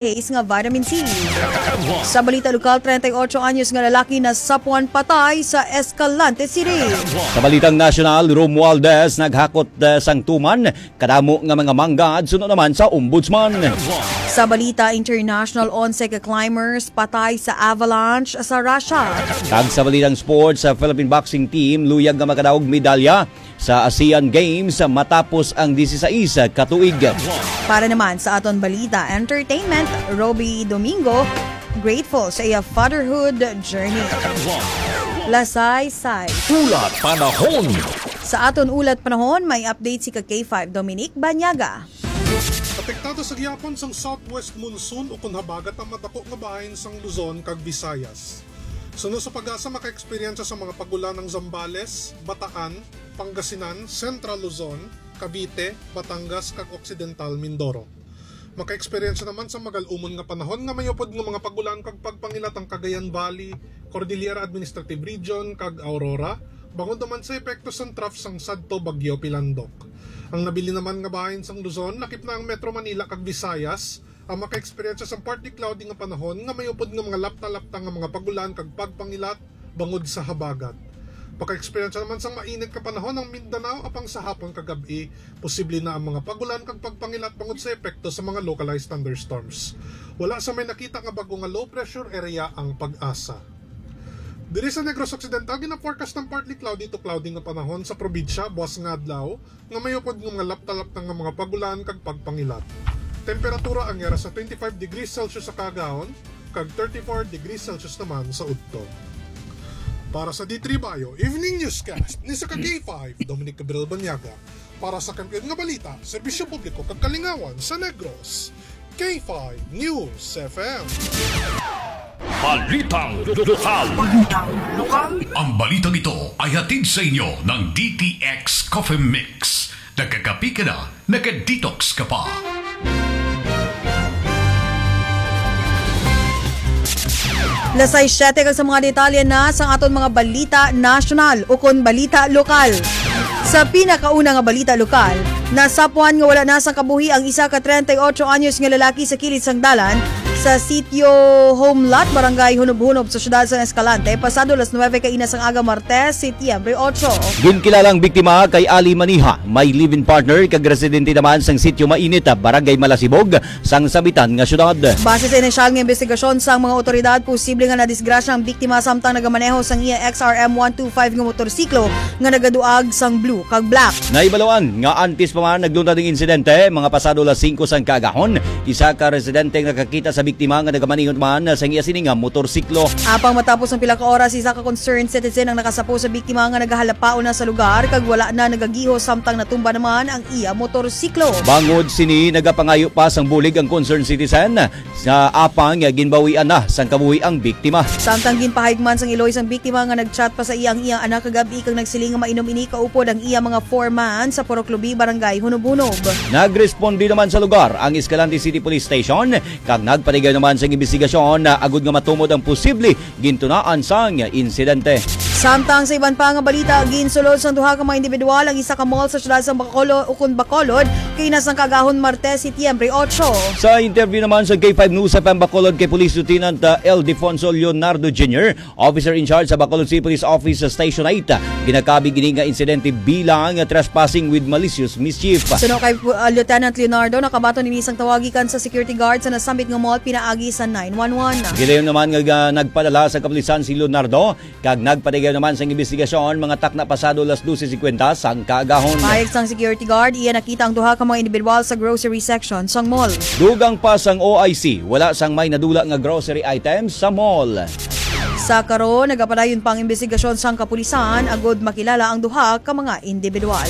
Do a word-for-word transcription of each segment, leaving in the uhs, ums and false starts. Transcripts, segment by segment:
Ace nga vitamin C. Sa balita lokal, treinta y ocho anyos nga lalaki nasapuan patay sa Escalante City. Sa balitang nasyonal, Romualdez naghakot, eh, sang tuman, kadamo nga mga manggad suno naman sa ombudsman. Sa balita international, onse ka climbers patay sa avalanche sa Russia. Kag sa balitang sports, sa Philippine boxing team luyag nga makadaog medalya sa Asian Games matapos ang disisais ka tuig. Para naman sa aton balita entertainment, Roby Domingo grateful sa iya fatherhood journey. Lasay-say. Ulat panahon. Sa aton ulat panahon, may update si ka K five Dominic Banyaga. Apektado sa gihapon sang southwest monsoon ukon habagat ang madako nga bahin sang Luzon kag Visayas. Suno sa PAGASA, maka-eksperyensya sa mga pag-ulan ang Zambales, Bataan, Pangasinan, Central Luzon, Cavite, Batangas, kag Occidental Mindoro. Maka-eksperyensya naman sa magal-umon nga panahon nga may upod nga mga pag-ulan kag pagpangilat ang Cagayan Valley, Cordillera Administrative Region, kag Aurora, bangod naman sa epekto sang trough sang sadto Bagyo Pilandok. Ang nabilin naman nga bahin sang Luzon, lakip na ang Metro Manila kag Visayas, ang maka-eksperyensya sang partly cloudy nga panahon nga may upod nga mga lapta-lapta nga mga pag-ulan kag pagpangilat bangod sa habagat. Maka-eksperyensya naman sang mainit nga panahon ang Mindanao, apang sa hapon kag gab-i, posible na ang mga pag-ulan kag pagpangilat bangod sa epekto sa mga localized thunderstorms. Wala sa may nakita nga bag-o nga low pressure area ang PAGASA. Diri sa Negros Occidental, gina-forecast ang partly cloudy to cloudy nga panahon sa probinsya buwas nga adlaw, nga may upod nga mga lapta-lapta nga mga pag-ulan kag pagpangilat. Temperatura ang yara sa twenty-five degrees Celsius sa kaagahon kag thirty-four degrees Celsius naman sa udto. Para sa D three Bayo Evening Newscast, ni sa ka K five, Dominic Gabriel Banyaga. Para sa Kampiyon nga Balita, Serbisyo Publiko kag Kalingawan sa Negros, K five News F M. Balitang lokal. Balitang lokal. Ang balitang ito ay hatid sa inyo ng D T X Coffee Mix. Nagkakape ka na, nagka-detox ka pa. Lasay siyete kag sa mga detalye na sang aton mga balita nasyonal ukon balita lokal. Sa pinakauna nga balita lokal, nasapuan nga wala na sang kabuhi ang isa ka treinta y ocho anyos nga lalaki sa kilid sang dalan sa Sitio Homelot, Barangay Hunob-Hunob sa siyudad sang Escalante, pasado las nuebe kaina sang aga, Martes, Setyembre ocho. Ginkilala ang biktima kay Ali Maniha, may live-in partner kag residente naman sang Sitio Mainit, Barangay Malasibog, sang Sabitan nga siyudad. Base sa inisyal nga imbestigasyon sang mga awtoridad, posible nga nadisgrasya ang biktima samtang nagamaneho sang iya X R M one two five nga motorsiklo nga nagaduag sang blue kag black. Nahibaluan nga antes pa man nagluntad ang insidente, mga pasado las singko sang kaagahon, isa ka residente nga nakakita sa biktima nga nagamaneho man sang iya sini nga motorsiklo. Apang matapos ang pila ka oras, isa ka concerned citizen ang nakasapo sa biktima nga nagahalapaon na sa lugar kag wala na nagagihos samtang natumba naman ang iya motorsiklo. Bangod sini, nagapangayo pa sang bulig ang concerned citizen sa apang ginbawian na sang kabuhi ang biktima. Samtang ginpahayag man sang iloy sang biktima nga nag-chat pa sa iya ang iyang anak kagab-i kag nagsiling nga mainom ini kaupod ang iya mga foreman sa Purok Lubi, Barangay Hunob-Hunob. Nagresponde naman sa lugar ang Escalante City Police Station kag nagpatigayon naman sang imbestigasyon agod nga matumod ang posible gintunaan sang insidente. Samtang sa iban pa nga balita, ginsulod sang duha ka mga individual ang isa ka mall sa siyudad sang Bacolod ukon Bacolod kaina sang kaagahon, Martes, Setyembre ocho. Sa interview naman sa K five News F M Bacolod kay Police Lieutenant, uh, Ildefonso Leonardo Junior, officer in charge sa Bacolod City Police Office sa Station eight, ginakabig ini nga insidente bilang trespassing with malicious mischief. Suno kay, uh, Lieutenant Leonardo, nakabaton ini sang tawag gikan sa security guard sa nasambit nga mall pinaagi sa nine one one. Gilayon naman nga, ah, nagpadala sa kapulisan si Leonardo kag nagpatigayon naman sang imbestigasyon mga takna pasado las dose singkwenta sang kaagahon. Pahayag sang security guard, iya nakita ang duha ka mga individual sa grocery section sang mall. Dugang pa sang O I C, wala sang may nadula nga grocery items sa mall. Sa karon, nagapadayon pa ang imbestigasyon sang kapulisan agud makilala ang duha ka mga individual.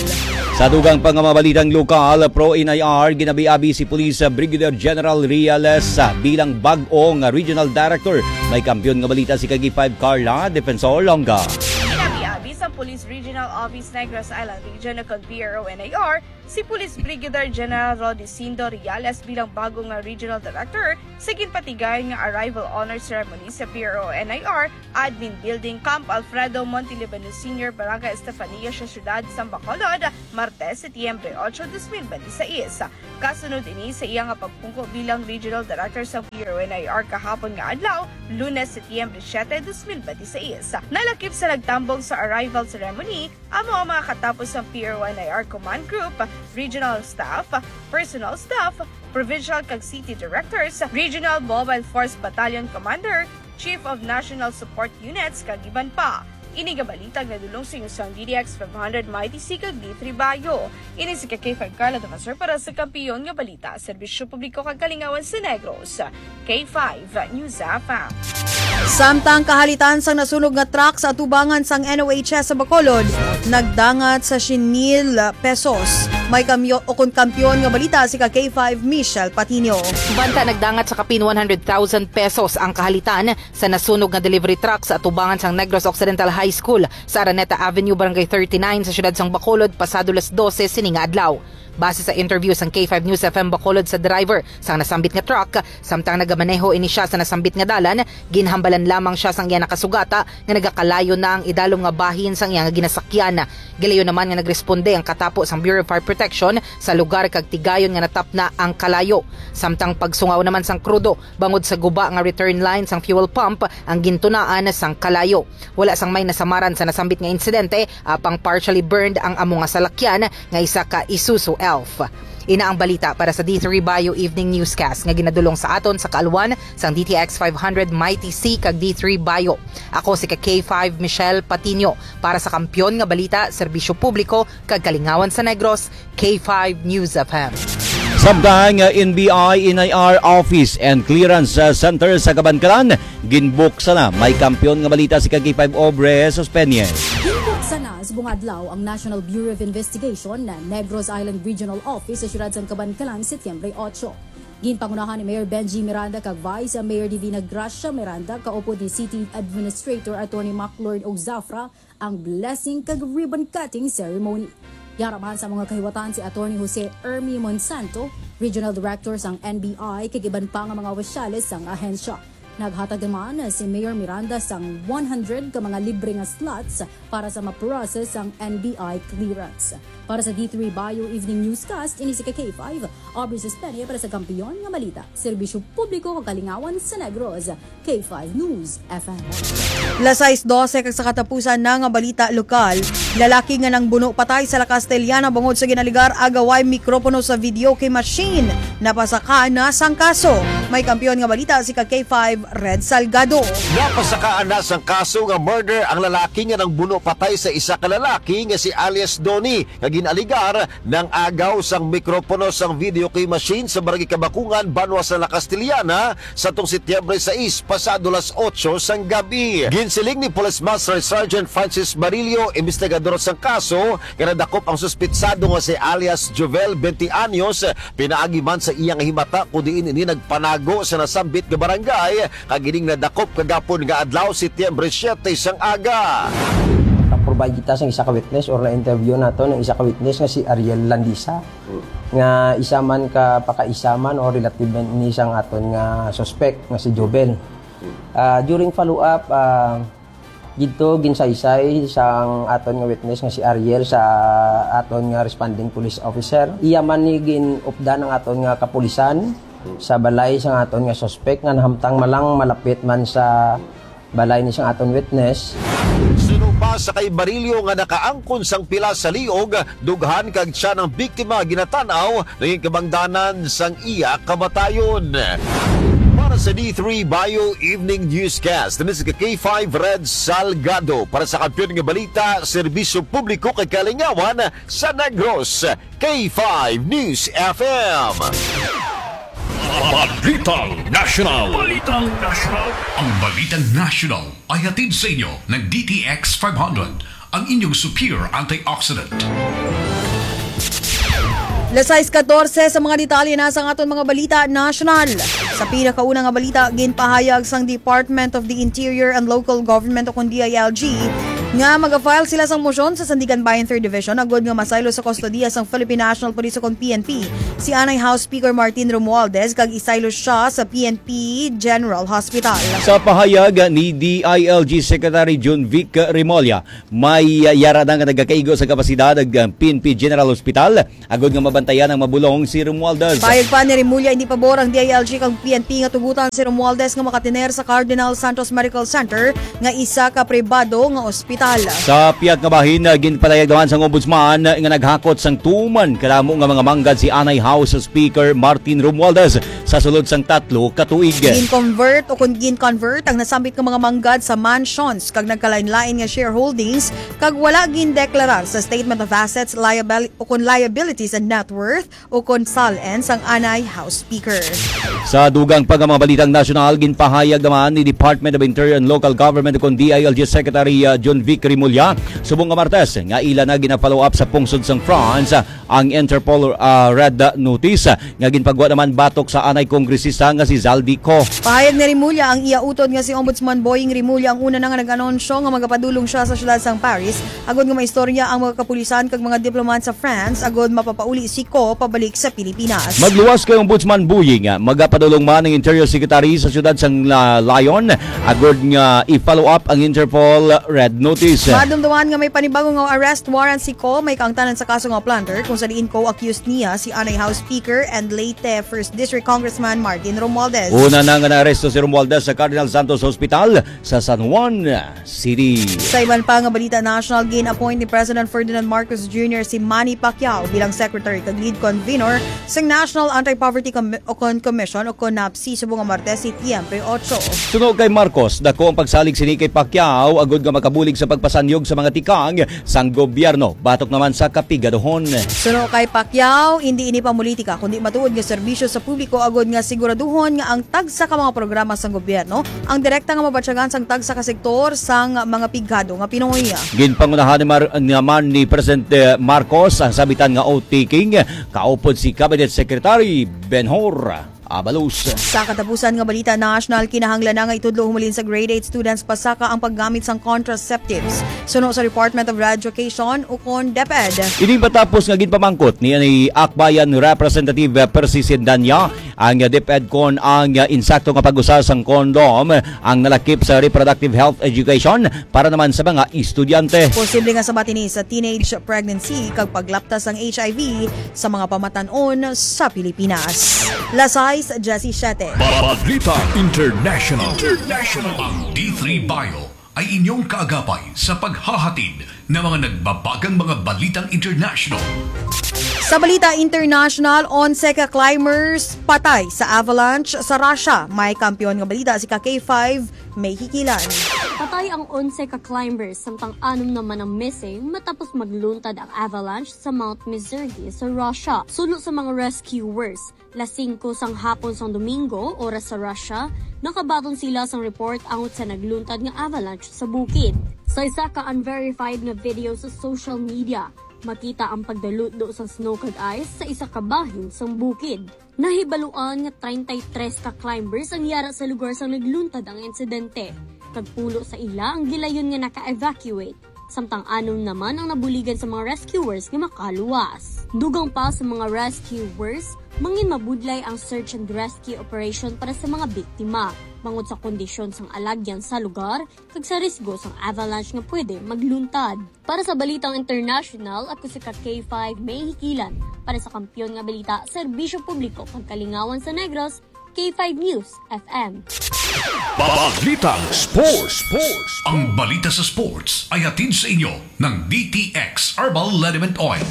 Sa dugang pa nga mga balitang lokal, pro-N I R, ginabi-abi si Police Brigadier General Reales, ah, bilang bag-o nga Regional Director. May kampiyon nga balita si ka K five Carla Defensor Longa. Ginabi-abi sang Police Regional Office Negros Island Region ukon P R O N I R si Police Brigadier General Rodicindo Reales bilang bag-o nga Regional Director sa ginpatigayon nga arrival honor ceremony sa P R O N I R Admin Building, Camp Alfredo Montelibano Senior, Barangay Estefania sa siyudad sang Bacolod, Martes, Setyembre otso, dos mil benti seis. Kasunod ini sa iya nga pagpungko bilang Regional Director sa P R O N I R kahapon nga adlaw, Lunes, Setyembre siete, dos mil benti seis. Nalakip sa nagtambong sa arrival ceremony, amo ang mga katapos sang P R O N I R Command Group, regional staff, personal staff, provincial kag city directors, regional mobile force battalion commander, chief of national support units, kag iban pa. Ini nga balita ang nadulong sa inyo sang D T X five hundred, Mighty C, kag D three Bayo. Ini si K five Carla Tomasor para sa Kampiyon nga Balita, Serbisyo Publiko kag Kalingawan sa Negros. K five News F M. Samtang kahalitan sang nasunog nga truck sa atubangan sang N O H S sa Bacolod, nagdangat sa siyam mil pesos. May kamyo-, o kon kampiyon nga balita si ka K five Michelle Patino. Banta nagdangat sa kapin one hundred thousand pesos ang kahalitan sa nasunog nga delivery truck sa atubangan sang Negros Occidental High School sa Araneta Avenue, Barangay thirty-nine sa siyudad sang Bacolod, pasado las dose sini nga adlaw. Base sa interview sang K five News F M Bacolod sa driver sang nasambit nga truck, samtang nagamaneho ini siya sa nasambit nga dalan, ginhambalan lamang siya sang iya nakasugata nga nagakalayo na ang idalom nga bahin sang iya nga ginasakyan. Gilayon naman nga nagresponde ang katapo sang Bureau of Fire Protection sa lugar kag tigayon nga natapna ang kalayo. Samtang pagsungaw naman sang krudo bangod sa guba nga return line sang fuel pump ang gintunaan sang kalayo. Wala sang may nasamaran sa nasambit nga insidente, apang partially burned ang amo nga salakyan nga isa ka Isuzu Elf. Ina ang balita para sa D three Bayo Evening Newscast nga ginadulong sa aton sa kaalwan sang D T X five hundred, Mighty C, kag D three Bayo. Ako si ka K five Michelle Patino para sa Kampiyon nga Balita, Serbisyo Publiko, kag Kalingawan sa Negros, K five News F M. Samtang, uh, N B I N I R Office and Clearance, uh, Center sa Kabankalan, ginbuksan na. May kampiyon nga balita si ka K five Obre Jesus Peña. Ginbuksan na subong adlaw ang National Bureau of Investigation na Negros Island Regional Office sa siyudad sang Kabankalan, Setyembre otso. Ginpangunahan ni Mayor Benji Miranda kag Vice Mayor Divina Gracia Miranda, kaupod ni City Administrator Attorney Maclord Ogzafra, ang blessing kag ribbon cutting ceremony. Yara man sa mga kahiwatan si Attorney Jose Ermi Monsanto, Regional Director sang N B I, kag iban pa nga mga opisyales sang ahensya. Naghatag naman si Mayor Miranda sang one hundred ka mga libre nga slots para sa ma-process ang N B I clearance. Para sa D three Bio Evening Newscast, ini si K five, Aubrey Suspenio para sa Kampiyon nga Balita, Serbisyo Publiko kag Kalingawan sa Negros. K five News F M. Las sais dose kag sa katapusan na nga balita lokal, lalaki nga nangbuno patay sa La Castellana bangod sa ginaligar agaway mikropono sa videoke machine, napasaka na sang kaso. May kampiyon nga balita si ka K five Red Salgado. Napasakaan na sang kaso nga murder ang lalaki nga nangbuno patay sa isa ka lalaki nga si alias Donnie, nga ginaligar nang agaw sang mikropono sang videoke machine sa Barangay Kabakungan, Banwa sa La Castellana, sa tong Setyembre sais, pasado las otso sang gabi. Ginsiling ni Police Master Sergeant Francis Barillo, investigador sang kaso, nga nadakop ang suspitsado nga si alias Jovel, twenty anyos, pinaagi man sa iya nga himata, kun diin ini nagpanago sa nasambit nga barangay, kag ining nadakop kagapon nga adlaw, Setyembre siete sang aga. Naka-provide kita sang isa ka witness or na-interview nato ng isa ka witness nga si Ariel Landisa, nga isa man ka pakaisa man o relative man ni sang aton nga suspect nga si Jovel. Ah, during follow-up, ah, didto ginsaysay sang aton nga witness nga si Ariel sa aton nga responding police officer. Iya man ni gin-updan ang aton nga kapulisan sa balay sang aton nga suspect nga nahamtang malang malapit man sa balay ni sang aton witness. Sinupa sa kay Barillo nga nakaangkon sang pila sa liog, dughan kag tiyan ang biktima ginatan-aw, naging kabangdanan sang iya kamatayon. Para sa D three Bio Evening Newscast, ini si K five Red Salgado para sa Kampiyon nga Balita, Serbisyo Publiko kag Kalingawan sa Negros, K five News F M. Balitang National. Balitang National. Ang Balitang National ay hatid sa inyo ng D T X five hundred, ang inyong superior antioxidant. Las sais katorse sa mga detalye na sa aton mga balita nasyonal. Sa pinakauna nga balita, ginpahayag sang Department of the Interior and Local Government o kon D I L G nga maga-file sila sang motion sa Sandiganbayan Third Division agud nga masaylo sa kustodiya sang Philippine National Police ukon P N P si anay House Speaker Martin Romualdez kag isaylo sia sa P N P General Hospital. Sa pahayag ni D I L G Secretary Jun Vic Remulla, may, ah, yara na nga nagakaigo sa kapasidad ang, ah, P N P General Hospital agud nga mabantayan ang mabulong si Romualdez. Payag pa ni Remulla, hindi pabor ang D I L G kag P N P nga tugutan si Romualdez nga makatener sa Cardinal Santos Medical Center nga isa ka pribado nga ospital. Sa pihak nga bahin, ah, ginpatayag naman sang Ombudsman nga naghakot sang tuman kadamo nga mga manggad si anay House Speaker Martin Romualdez sa sulod sang tatlo ka tuig. Gin-convert o kon gin-convert ang nasambit nga mga manggad sa mansions kag nagkalain-lain nga shareholdings kag wala gindeklarar sa Statement of Assets, Liabil-, o kon Liabilities and Net Worth o kon SALN sang anay House Speaker. Sa dugang pa nga mga balitang nasyonal, ginpahayag naman ni Department of Interior and Local Government o kon D I L G Secretary, ah, Jun Vic Remulla subong nga Martes nga ila na gina-follow up sa pungsod sang France, ah, ang Interpol, ah, Red Notice, ah, nga ginpagwa naman batok sa anay kongresista nga si Zaldy Co. Pahayag ni Remulla, ang iya utod nga si Ombudsman Boying Remulla ang una na nga nag-anunsyo nga magapadulong siya sa siyudad sang Paris agud nga maistorya ang mga kapulisan kag mga diplomat sa France agud mapapauli si Co pabalik sa Pilipinas. Magluwas kay Ombudsman Boying, magapadulong man ang Interior Secretary sa siyudad sang La-, Lyon agud nga i-follow up ang Interpol Red Notice. Madumduman nga may panibago nga arrest warrant si Co may kaangtanan sa kaso nga plunder kung sa diin co-accused niya si anay House Speaker and late, eh, First District Congressman Martin Romualdez. Una na nga naaresto si Romualdez sa Cardinal Santos Hospital sa San Juan City. Sa iban pa nga balita national, gin-appoint ni President Ferdinand Marcos Junior si Manny Pacquiao bilang Secretary kag Lead Convenor sa National Anti-Poverty Com-, o kon Commission o kon NAPSI subong nga Martes, Setyembre otso. Suno kay Marcos, dako ang pagsalig sini kay Pacquiao agud nga makabulig sa pagpasanyog sa mga tikang sang gobyerno batok naman sa kapigaduhon. Suno kay Pacquiao, hindi ini pamulitika kundi matuod nga serbisyo sa publiko agud nga siguraduhon nga ang tagsa ka mga programa sang gobyerno ang direkta nga mabatyagan sang tagsa ka sektor sang mga pigado nga Pinoy. Ginpangunahan ni Mar-, naman ni Presidente Marcos ang sambitan nga oath-taking kaupod si Cabinet Secretary Benhur Abalos. Sa katapusan nga balita national, kinahanglan na nga itudlo humalin sa grade eight students pasaka ang paggamit sang contraceptives, suno sa Department of Education ukon DepEd. Ini matapos nga ginpamangkot ni, ni Akbayan Representative Percy Sindanya ang DepEd kon ang insakto nga pag-usa sang kondom ang nalakip sa reproductive health education para naman sa mga estudyante. Posible nga sabat ini sa teenage pregnancy kag paglapta sang H I V sa mga pamatan-on sa Pilipinas. Las sais diecisiete. Balita International. International. Ang D three Bio ay inyong kaagapay sa paghahatid ng mga nagbabagang mga balitang international. Sa balita international, onse ka climbers patay sa avalanche sa Russia. May kampiyon nga balita si ka K five May Hikilan. Patay ang onse ka climbers, samtang anom naman ang missing matapos magluntad ang avalanche sa Mount Misurgis sa Russia. Suno sa mga rescuers, las singko sang hapon sang Domingo, oras sa Russia, nakabaton sila sang report angot sa nagluntad nga avalanche sa bukid. Sa isa ka unverified nga video sa social media, makita ang pagdalutdo sang snow kag ice sa isa ka bahin sang bukid. Nahibaluan nga treinta y tres ka climbers ang yara sa lugar sang nagluntad ang insidente, kag pulo sa ila ang gilayon nga naka-evacuate, samtang anom naman ang nabuligan sa mga rescuers nga makaluwas. Dugang pa sa mga rescuers, mangin mabudlay ang search and rescue operation para sa mga biktima, bangod sa kondisyon sang alagyan sa lugar kag sa risgo sang avalanche nga pwede magluntad. Para sa balitang international, ako si ka K five May Hikilan. Para sa kampiyon nga balita, serbisyo publiko kag kalingawan sa Negros, K five News F M. Balitang Sports. Sports. Ang balita sa sports ay hatid sa inyo ng D T X Herbal Liniment Oil.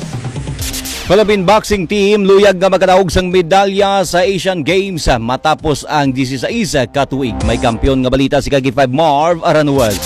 Philippine boxing team luyag nga makadaog sang medalya sa Asian Games matapos ang dieciséis ka tuig. May kampiyon nga balita si ka K five Marv Aranuez.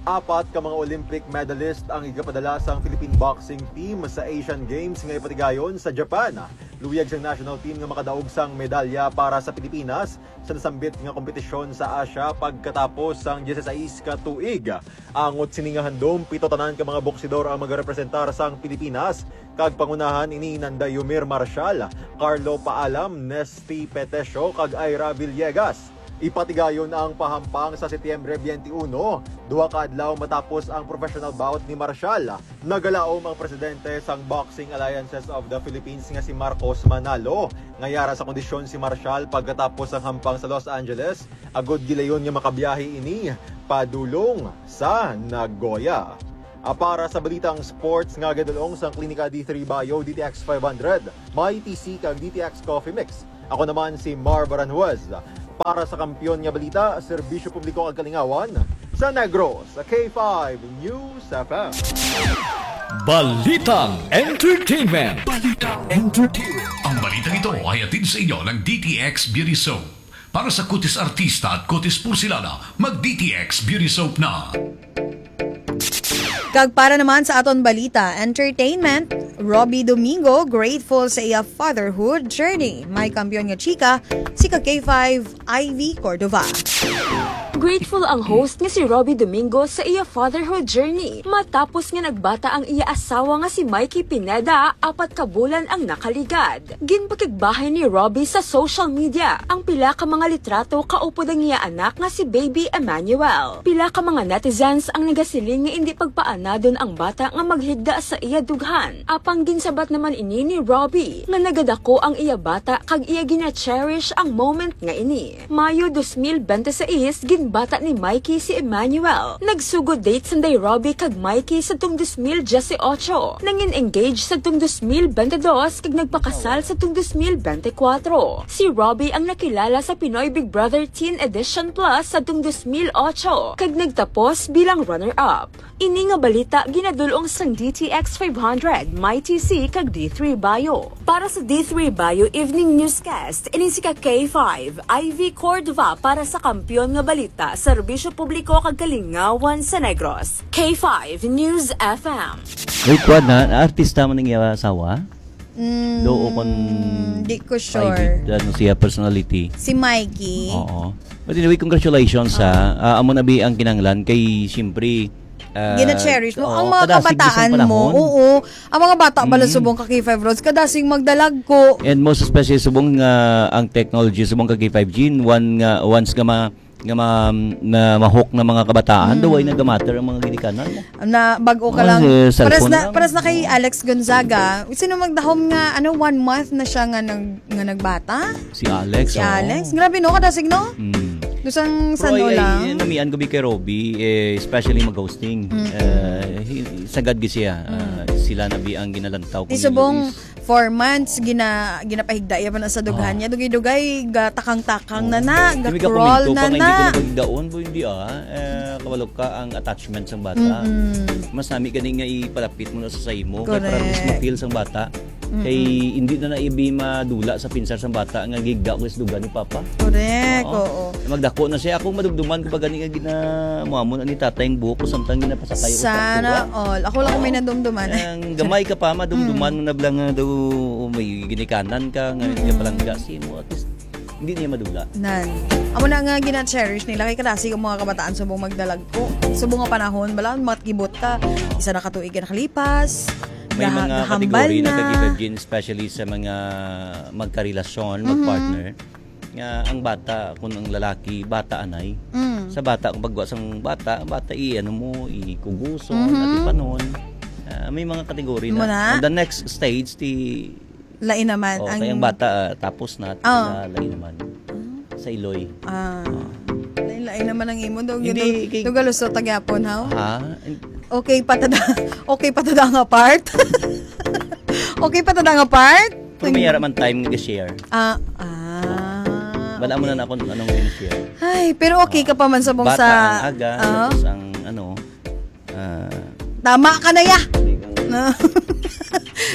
Apat ka mga Olympic medalist ang igapadala sang Philippine boxing team sa Asian Games nga ipatigayon sa Japan. Luyag sang national team nga makadaog sang medalya para sa Pilipinas sa nasambit nga kompetisyon sa Asia pagkatapos sang dieciséis ka tuig. Angot sini nga handom, pito tanan ka mga boksidor ang magarepresentar sang Pilipinas, kag pangunahan ini nanda Yumir Marshal, Carlo Paalam, Nesty Petesio, kag Ira Villegas. Ipatigayon ang pahampang sa Setyembre twenty-one, duha ka adlaw matapos ang professional bout ni Marshall. Nagalaom ang presidente sang Boxing Alliances of the Philippines nga si Marcos Manalo nga yara sa kondisyon si Marshall pagkatapos sang hampang sa Los Angeles, agud gilayon nga makabiyahe ini padulong sa Nagoya. Ah, para sa balitang sports nga ginadul-ong sang Klinika D three Bio, D T X five hundred, Mighty C kag D T X Coffee Mix, ako naman si Marv Aranjuez. Para sa Kampiyon nga Balita, Serbisyo Publiko kag Kalingawan, sa Negros, sa K five News F M. Balitang Entertainment. Balitang Entertainment. Ang balitang ito ay hatid sa inyo ng D T X Beauty Soap. Para sa kutis artista at kutis porselana, mag D T X Beauty Soap na. Kag para naman sa aton balita, entertainment, Robbie Domingo grateful sa iya fatherhood journey. May kampiyon nga chika, si ka K five Ivy Cordova. Grateful ang host nga si Robbie Domingo sa iya fatherhood journey matapos nga nagbata ang iya asawa nga si Mikey Pineda apat ka bulan ang nakaligad. Ginpakigbahin ni Robbie sa social media ang pila ka mga litrato kaupod ang iya anak nga si Baby Emmanuel. Pila ka mga netizens ang nagasiling nga indi pagpaanadon ang bata nga maghigda sa iya dughan. Apang ginsabat naman ini ni Robbie nga nagadako ang iya bata kag iya gina-cherish ang moment nga ini. Mayo dos mil bente seis, ginbata ni Mikey si Emmanuel. Nagsugod date sanday Robbie kag Mikey sadtong dos mil dieciocho. Nangin engage sadtong dos mil bente dos kag nagpakasal sadtong dos mil bente kuwatro. Si Robbie ang nakilala sa Pinoy Big Brother Teen Edition Plus sadtong dos mil ocho kag nagtapos bilang runner-up. Ini nga balita ginadul-ong sang D T X five hundred, Mighty C kag D three Bio. Para sa D three Bio Evening Newscast, ini si ka K five, Ivy Cordova para sa Kampiyon nga Balita, Serbisyo Publiko kag Kalingawan sa Negros. K five News F M. Uy, kuwan na, artista man ang iya asawa? Mm, Do o kon di ko sure. Private, ano siya, personality? Si Mikey. Oo. But anyway, congratulations, ha. Ah, amo na bi ang kinahanglan kay, siyempre, ah, Gina-cherish mo oo, ang mga kadasig bisan kabataan mo. Panahon. Oo. Ang mga bata bala Mm. subong ka K five Roads, kadasig magdalagko. And most especially subong nga ang technology, subong ka K five G, one nga, once nga ma-, nga ma-, na ma-hook na mga kabataan, Mm. daw ay nagamatter ang mga ginikanan mo. Na bag-o ka Oh, lang. eh, Pares cellphone na, lang. pares na kay Oo. Alex Gonzaga. Sino magdahom nga, ano, one month na siya nga nag-, nga nagbata? Si Alex, Si oo. Alex. Grabe, no? Kadasig, no? Mm. Dusang Pero sano ay, ay, lang. Namian ko bi kay Robbie, eh, especially mag-hosting. Mm. Eh, hi-, sagad gi siya. Mm. Ah, sila na bi ang ginalantaw Di kung subong, is four months, gina-, ginapahigda iya pa na sa dughan Ah. niya. Dugay-dugay, gatakang-takang na Oo. na, Di mi ga-crawl gakomento na pa nga hindi na. ko napahigdaon, boy, hindi, ah. Eh, kabalo ka ang attachment sang bata. Mm-mm. Mas nami gani nga ipalapit mo na sa sa imo. Kay para at least Correct. ma-feel sang bata. Mm-mm. Kay hindi na na ibi madula sa pinsar sang bata nga gigda ko sa dughan ni Papa. Correct, Oo. oo. Magdako na siya. Akong madumduman ko pa gani nga gina-, muamon ani tatay ang buhok ko samtang ginapasakay ko sa Sana traktura. all. Ako lang Oo. may nadumduman. Ang gamay ka pa, madumduman Mm. mo na bala nga daw may ginikanan ka, nga Mm-mm. ginapalangga si mo. At least, hindi niya madula. Nan. Amo na nga gina-cherish nila kay kadasig ang mga kabataan subong magdalagko. Subong nga panahon, bala, matkibot ka. Isa na ka tuig ka nakalipas. May Gaha-, mga gahambal kategorya na na. Kag even especially sa mga magkarelasyon, Mhm. magpartner, nga ang bata, kung ang lalaki, bata anay. Mm. Sa bata, kung pagwa sang bata, bata, i-, ano mo, ikuguson, Mhm. atipanon. Ah, may mga kategorya Mo na. na? On the next stage, ti Lain naman Oh, ang kay ang bata, ah, tapos na, Oh. na lain naman. Ah. Sa Iloy. Ah. Ah. Lain-lain naman ang imo. Dug-, Hindi, dug-, kay dugaluso tagyapon, ha? Ha? Okay pa tada, okay pa tada nga part? Okay pa tada nga part? Pero may ara man time nga share. Ah, ah, Wala mo okay. na na kung anong yung share. Ay, pero okay ka pa man sa bong Bata sa ang aga, Ah. tapos ang ano, Ah. Tama ka na ya. Hindi kang No.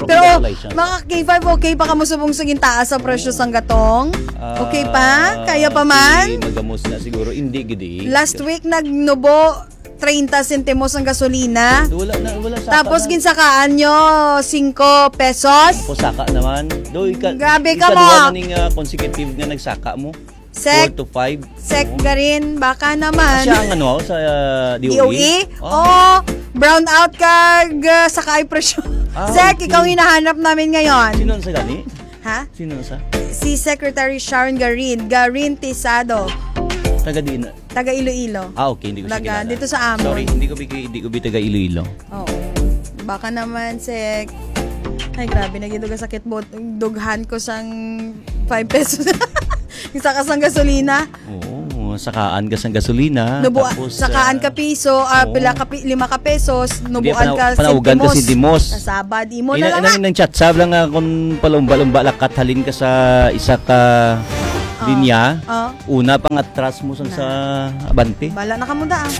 Pero, Congratulations. mga K five, okay pa kamo subong sa gintaas sa presyo sang gatong? Okay pa? Ah, Kaya pa man? Di, magamos na siguro. Hindi, gidi. Last week, nagnubo treinta sentimos ang gasolina. Wala na, wala saka Tapos, na. ginsakaan nyo, singko pesos. Ako saka naman. Do, ika-, Grabe ka ikaduha mo. na ning, ah, consecutive nga nagsaka mo. Sec, Four to five. Sec Oo. Garin, baka naman. Ah, siya ang ano, sa, ah, D O E? D O E? Oh. Oh, brown out ka, g-, sa kaay presyo. Ah, Sec, okay. ikaw hinahanap namin ngayon. Sino ang sa gani? Ha? Sino ang sa? Si Secretary Sharon Garin, Garin Tisado. Taga diin na? Taga Iloilo. Ah, okay, hindi ko siya Taga, kilala. dito sa amon. Sorry, hindi ko bi-, hindi ko bi taga Iloilo. Oo. Baka naman, sek. Ay, grabe, naging duga sakit mo. Dughan ko sang five pesos. Isa ka sang gasolina. Oo, sakaan ka sang gasolina. Nubu- tapos, sakaan ah, ka piso, ah, oo. pila ka pi- lima ka pesos, Hindi, nubuan pana- ka panaugan ka sentimos. sentimos. Sa sabad, imo na Ina, lang. ina, inang chat sab lang nga kung palumba-lumba lakat halin ka sa isa ka Oh. linya. Oh. Una pang atras mo sang sa abante. Bala na kamo da, ah.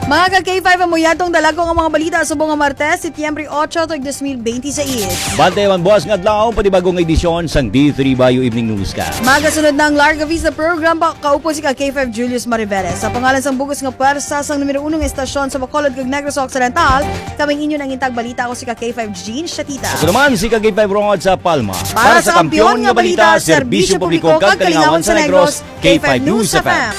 Mga ka K five, amo yatong dalagko nga mga balita subong nga Martes, Setyembre otso, tuig dos mil benti sais. Bante man buwas nga adlaw, panibagong edisyon sang D three Bayo Evening Newscast. Magasunod na ang Larga Vista program pa kaupod si ka K five Julius Mariveres. Sa pangalan sang bugos nga pwersa sang numero uno nga estasyon sa Bacolod kag Negros Occidental, kaming inyo nang intag balita, ako si ka K five Jean Shatita. Ako naman si ka K five Rod sa Palma. Para sa kampiyon nga balita, serbisyo publiko kag kalingawan sa Negros, K five News F M.